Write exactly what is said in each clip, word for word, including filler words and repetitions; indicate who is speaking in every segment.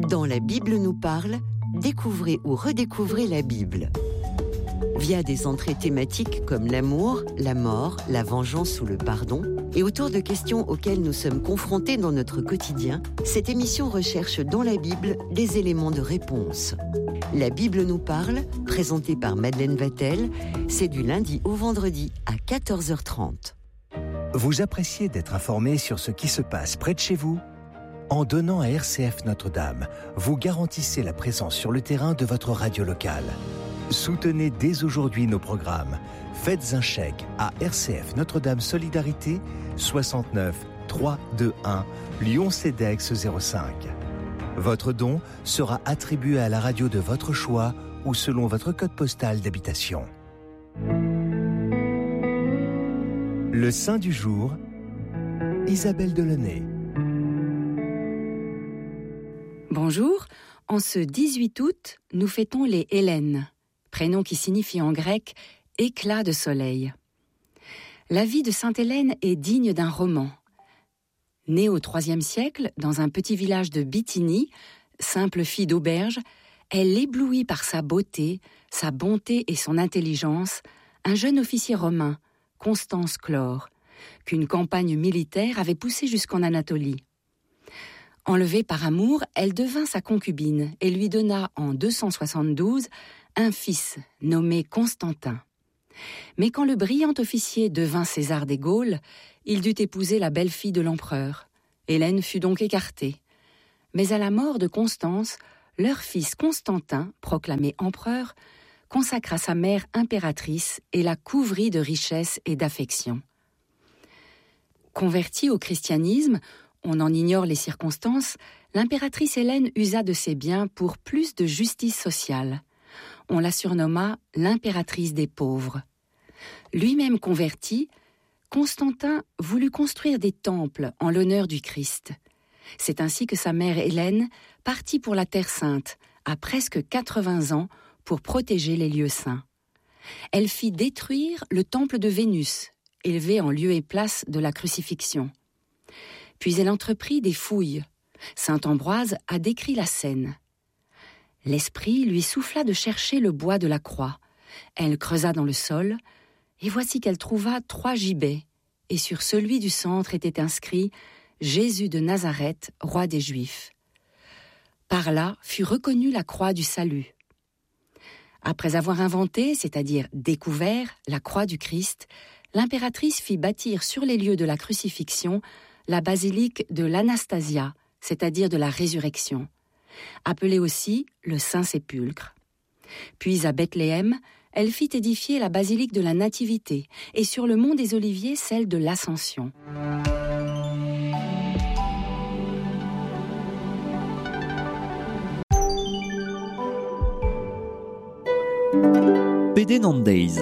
Speaker 1: Dans La Bible nous parle, découvrez ou redécouvrez la Bible. Via des entrées thématiques comme l'amour, la mort, la vengeance ou le pardon, et autour de questions auxquelles nous sommes confrontés dans notre quotidien, cette émission recherche dans la Bible des éléments de réponse. La Bible nous parle, présentée par Madeleine Vatel, c'est du lundi au vendredi à quatorze heures trente.
Speaker 2: Vous appréciez d'être informé sur ce qui se passe près de chez vous ? En donnant à R C F Notre-Dame, vous garantissez la présence sur le terrain de votre radio locale. Soutenez dès aujourd'hui nos programmes. Faites un chèque à R C F Notre-Dame Solidarité, soixante-neuf trois deux un, Lyon Cedex zéro cinq. Votre don sera attribué à la radio de votre choix ou selon votre code postal d'habitation. Le Saint du jour, Isabelle Delaunay.
Speaker 3: Bonjour, en ce dix-huit août, nous fêtons les Hélènes, prénom qui signifie en grec éclat de soleil. La vie de Sainte Hélène est digne d'un roman. Née au troisième siècle, dans un petit village de Bithynie, simple fille d'auberge, elle éblouit par sa beauté, sa bonté et son intelligence un jeune officier romain, Constance Chlore, qu'une campagne militaire avait poussé jusqu'en Anatolie. Enlevée par amour, elle devint sa concubine et lui donna en deux cent soixante-douze un fils nommé Constantin. Mais quand le brillant officier devint César des Gaules, il dut épouser la belle-fille de l'empereur. Hélène fut donc écartée. Mais à la mort de Constance, leur fils Constantin, proclamé empereur, consacra sa mère impératrice et la couvrit de richesses et d'affections. Convertie au christianisme, on en ignore les circonstances, l'impératrice Hélène usa de ses biens pour plus de justice sociale. On la surnomma l'impératrice des pauvres. Lui-même converti, Constantin voulut construire des temples en l'honneur du Christ. C'est ainsi que sa mère Hélène partit pour la Terre Sainte, à presque quatre-vingts ans, pour protéger les lieux saints. Elle fit détruire le temple de Vénus, élevé en lieu et place de la crucifixion. Puis elle entreprit des fouilles. Saint Ambroise a décrit la scène. L'esprit lui souffla de chercher le bois de la croix. Elle creusa dans le sol, et voici qu'elle trouva trois gibets, et sur celui du centre était inscrit Jésus de Nazareth, roi des Juifs. Par là fut reconnue la croix du salut. Après avoir inventé, c'est-à-dire découvert, la croix du Christ, l'impératrice fit bâtir sur les lieux de la crucifixion la basilique de l'Anastasia, c'est-à-dire de la résurrection, appelée aussi le Saint-Sépulcre. Puis à Bethléem, elle fit édifier la basilique de la Nativité et sur le mont des Oliviers celle de l'Ascension.
Speaker 4: P D Nandays.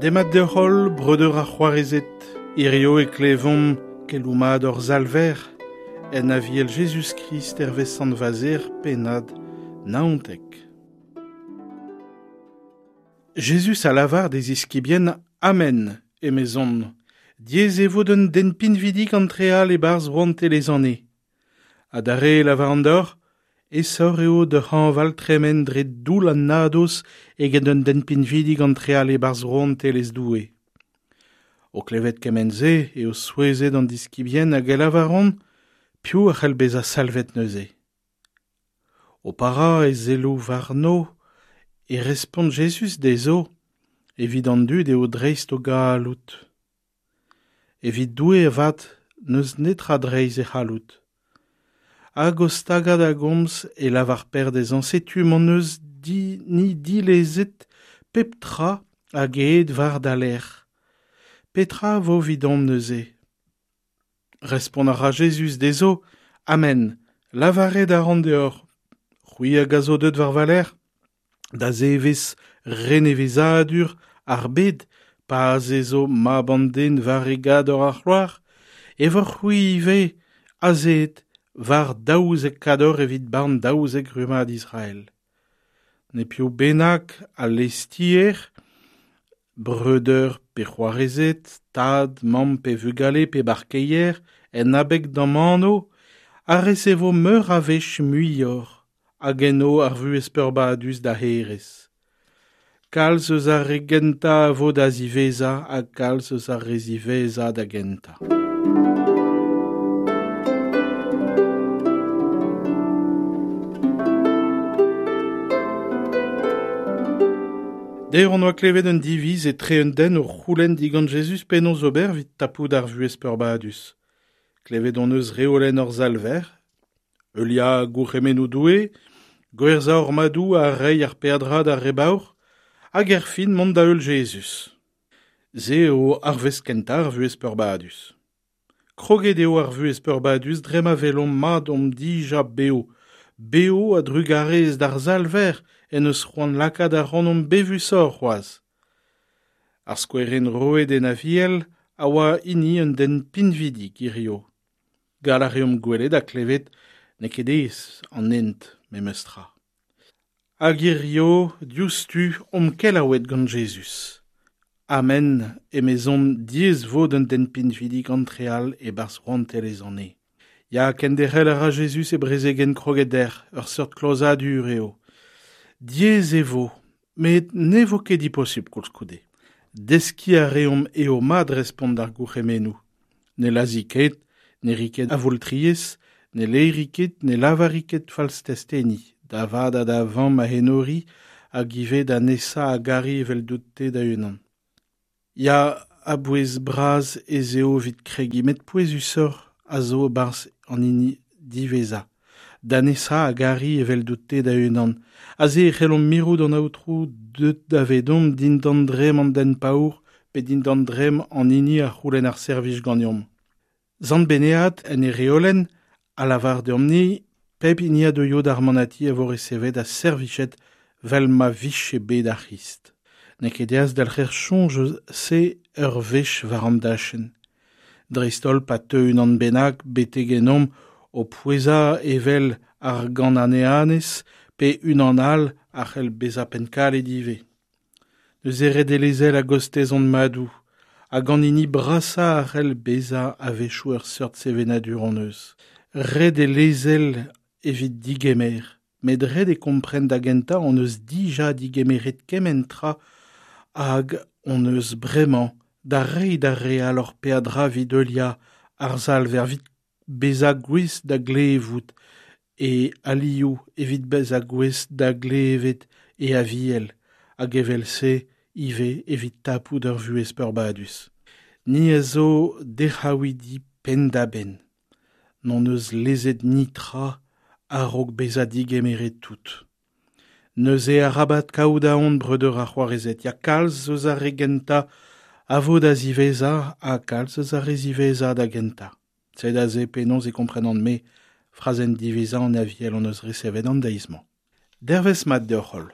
Speaker 5: Demat de hol, breudeur ar c'hoarezet, hirio e klevomp keloumad ur zalver, en aviel Jezuz-Krist hervez sant Vazer pennad naontek. Jezuz a lavar des iskibien Amen, emezon, diez e vo d'un den pinvidik antreal e barz rouantelez anne. Adare lavar an dor, e sor eo de hanval tremen dre doul an nadoz eget un den pinvidik antreal e barz rouantelez doue. O klevet kemenze e o souezet an diskibien hag e lavaron, piou a c'hell beza salvet neuze. O para e zelou varno, e respont Jezuz dezo, evit an dud eo dreist o galout. Evit doue avat n'eus netra dreiz e c'hallout. Hag o stagad a gomz e lavar per dezhañ setu m'en eus di, ni dilezet pep tra hag eet war da lec'h. Petra vo vidon neuze? Respont a ra Jezuz dezo, Amen, lavaret a ran deoc'h, c'hwi hag a zo deut war valer, da zevez renevezadur ar bed, pa azezo mab an den war e gador ar c'hloar, e vor c'hwi ivez azet war daouzek kador evit barn daouzek rummad Israël. Ne piv bennak a lestier, breudeur pe c'hoarezed, tad, mamm pe vugale pe barkeier, en abeg d'am anv, a resevo meur a wech muioc'h, hag enno ar vuhez peurbadus da hêrezh. Kalz eus ar re gentañ a vo da ziwezhañ ha kalz eus ar re ziwezhañ da gentañ. Dec'h hon oa klevet un diviz etre un den o c'houlenn digant Jezuz penaos ober evit tapout ar vuhez peurbadus. Klevet hon eus reolenn hor Salver, heuliañ gourc'hemennoù Doue, gwerzhañ hor madoù ha reiñ ar peadra d'ar re baour, hag erfin mont da heul Jezuz. Se eo ar wezh kentañ ar vuhez peurbadus. Kroget eo ar vuhez peurbadus dre ma welomp mat omp dija bev. Bev a-drugarez d'ar Salver en eus c'hoant lakaat ac'hanomp bevusoc'h c'hoazh. Ar skouerenn roet en Aviel a oa hini un den pinvidik hirio. Gall a reomp gwelet ha klevet n'eo ket aes an hent memes tra. Hag hirio diouzhtu omp kelaouet gant Jezuz. Amen, emezon diaes vo d'un den pinvidik antreal e-barzh rouantelezh an neñv. Ya, kenderc'hel a ra Jezuz e brezegenn kroget dec'h, ur seurt klozadur eo. Diaes e vo, met ne vo ket diposubl koulskoude. Deskiñ a reomp eo mat respont d'ar gourc'hemennoù. Ne lazhi ket, ne ri ket avoultriezh, ne laeri ket, ne lavari ket falstesteni, da vad ha da vamm a enori, hag ivez da nesañ a gari eveldout-te da-unan. Ya, a-bouez bras ez eo evit kregiñ, met pouezusoc'h a zo e-barzh an hini diwezhañ. Da nesañ a gari eveldout-te da-unan. Aze e c'hellomp mirout an aotrou deut davedomp dindan dremm an den paour pe dindan dremm an hini a c'houlenn ar servij ganeomp. Sant Benead en e reolenn a lavar deomp-ni pep hini a deuio d'ar manati a vo resevet ha servichet vel ma vije bet ar C'hrist. N'eo ket aes delc'her soñj eus se ur wech war an dachenn. Dreist-holl pa teu unan bennak betek ennomp o pouezañ evel ar Gananeanez pe unan all a c'hell bezañ pennkalet ivez. Neuze ret eo lezel a-gostez hon madoù, hag an hini brasañ a c'hell bezañ a-wechoù ur seurt sevenadur hon eus. Ret eo lezel evit digemer, met ret eo kompren da gentañ hon eus dija digemeret kement tra hag hon eus bremañ da reiñ d'ar re all hor peadra evit heuliañ ar Salver, evit bezañ gouest da glevout e alioù, evit bezañ gouest da glevet e aviel, hag evel-se ivez evit tapout ur vuhez peurbadus. Ni a zo dec'haouidi penn-da-benn. N'hon eus lezet netra a-raok bezañ digemeret tout. Neuze arabat kaout aon breudeur ha c'hoarezed, ya kalz eus ar re gentañ a vo da ziwezhañ ha kalz eus ar re ziwezhañ da gentañ. Sed aze penaos e komprenan-me frazenn diwezhañ an Aviel hon eus resevet an deiz-mañ. Dervezh mat deoc'h holl.